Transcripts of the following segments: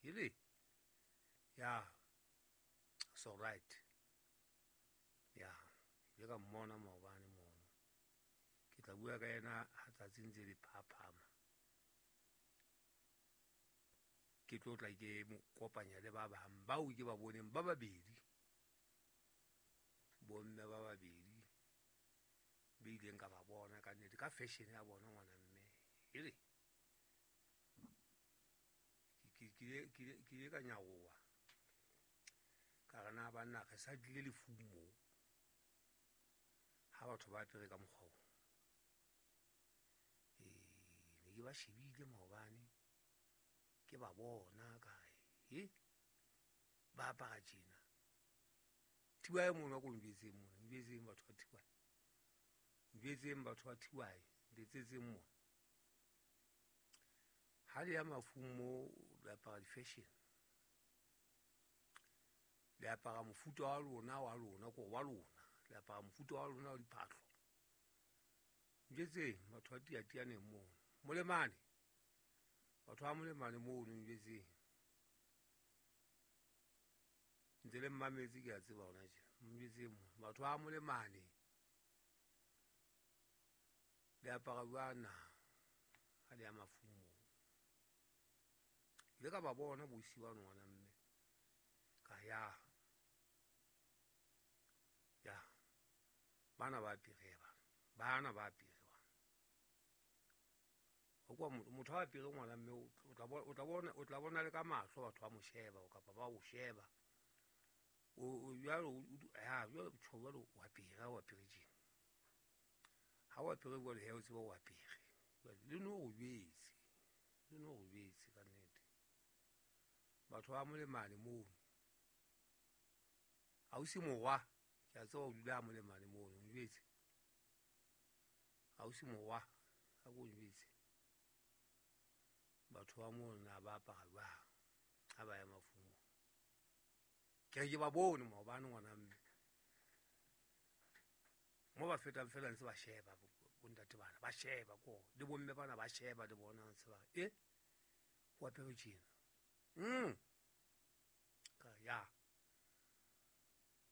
Hele, ya, so right. Ya, ke ile ka mmona maobane mono. Ke tla bua ka yena ha tsatsi ntse le phaphama. Ke tlo tla ke mo kopanya le ba bang bao ke ba boneng ba babedi. Bomme ba babedi ba ileng ka ba bona ka nnete ka fashion ya bona ngwana mme. Hele, ke ile ka nyaroha. Ka re na banna re sa tlile lefung moo. Ha batho ba apere ka mokgwa oo. Ne ke ba shebile maobane, ke ba bona ka re, he, ba apara tjena. Thibae mono a ko njwetseng mono, njwetseng batho ba Thibae. Njwetseng batho ba Thibae, ntetsetseng mono. Ha le ya mafung moo, le apara di-fashion. Le apara mofuta wa lona, wa lona, ko wa lona. Le apara mofuta wa lona wa diphahlo. Njwetseng batho ba tiatianeng mono. Molemane. Batho ba molemane mono njwetseng. Ntse le mmametse ke a tseba hona tjena. Njwetseng mono. Batho ba molemane. Le apara jwang na? Ha le ya mafung moo. Ke ile ka ba bona bosiu bano ngwana mme. Ka ya. Ya. Bana ba apere bana. Bana ba apere bana. Ho kwa motho a apere ngwana mme o tla bona le ka mahlo batho ba mo sheba kapa ba o sheba. O jwalo, o, ya, jwalo, tjho, jwalo, o apere, o apere tjena. Ha o apere jwalo, he, o tseba o apere. Jwale, le no o jwetse. Le no o jwetse ka nnete. Batho ba molemane mono. Ausi morwa, ke a tseba o dula molemane mono, o njwetse. Ausi morwa, ha ko njwetse. Batho ba mono na ba apara jwang ha ba ya mafung moo. Ke re ke ba bone maobane ngwana mme. Mo ba fetang fela ntse ba sheba bontate bana, ba sheba ko le bomme bana ba sheba le bona ntse ba re, ho apere tjena. Ka ya.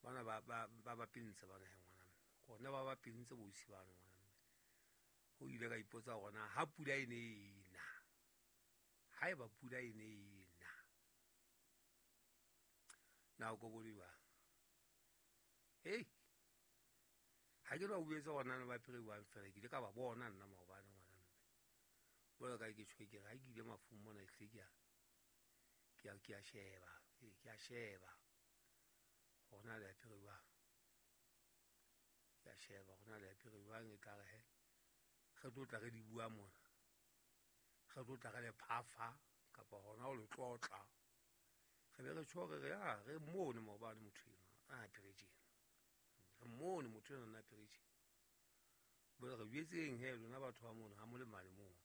Bana ba pintse bana he ngwana mme. Kona ba pintse bosi bana ngwana mme. Ho ile ka ipotsa hore na ha pula e ne e na. Ha eba pula e ne e na. Na o ko bone jwang? Hei. Ha ke no bua tsa hore na ba apere jwang fela, ke ile ka ba bona nna maobane ngwana mme. Jwalo ka ke tjho ke re ha ke ile mafung mona ehlile ke a sheba, ee, ke a sheba. Hore na le apere jwang. Ke a sheba hore na le apere jwang, e tla re he, re tlo tla re di bua mona. Re tlo tla re le phafa kapa hona ho le tlotla. Re be re tjho re re, ah, re mmone maobane motho enwa a apere tjena. Re mmone motho enwa a apere tjena. Jwale re jwetseng he lona batho ba mono ha molemane mono.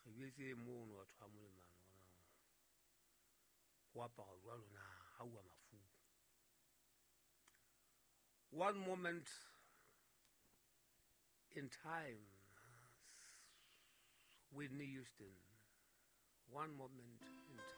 Re jwetseng mono batho ba molemane hona. Ho apara jwalo na ha uwa mafung. One moment in time, Whitney Houston. One moment in time.